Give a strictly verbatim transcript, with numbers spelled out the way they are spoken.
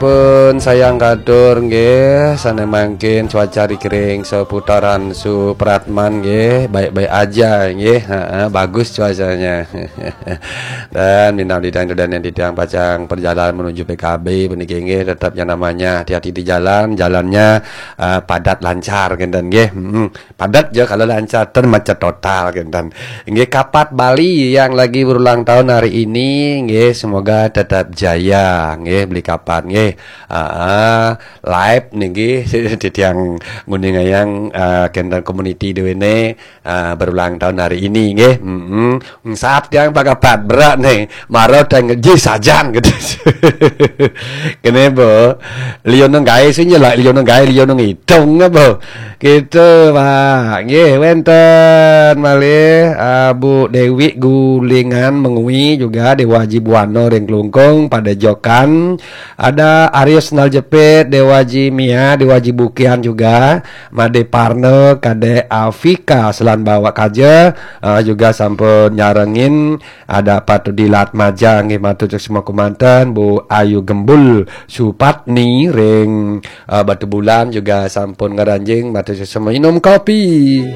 Pun sayang katur nggih, sané mangkin cuaca di kring seputaran Supratman nggih, baik-baik aja nggih. Heeh, bagus cuacanya. Dan minal didang dan yang didang pacang perjalanan menuju P K B puniki nggih, tetap yang namanya hati-hati di jalan, jalannya eh, padat lancar kinten nggih. Heeh. Padat ya kalau lancar, ten macet total kinten. Nggih, Kapat Bali yang lagi berulang tahun hari ini nggih, semoga tetap jaya nggih, beli Kapat nggih. Ah, live niki titiang nguningayang eh, kinten community duwene eh, berulang tahun hari ini nggih. Heeh. Saat yang Pak Kapat berat nih, maro teng ji sajan gitu. Kene bo, liyo nang gawe sing nyelak, liyo nang gawe, liyo nang hitung apa. Gitu, Pak. Nggih, wenten malih ah, Bu Dewi Gulingan Mengwi juga Dewa Haji Buana ring Klungkung pada jokan. Ada Arius Naljepit, Dewa Haji Mia, Dewa Haji Bukian juga, Made Parno, Kadek Afika Selan Bawak Kaja ah, juga sampun nyarengin. Ada Pak Tudi Latmaja nggih, matur suksma kumanten, Bu Ayu Gembul Supatni ring ah, Batu Bulan juga sampun ngranjing, matur suksma minum kopi.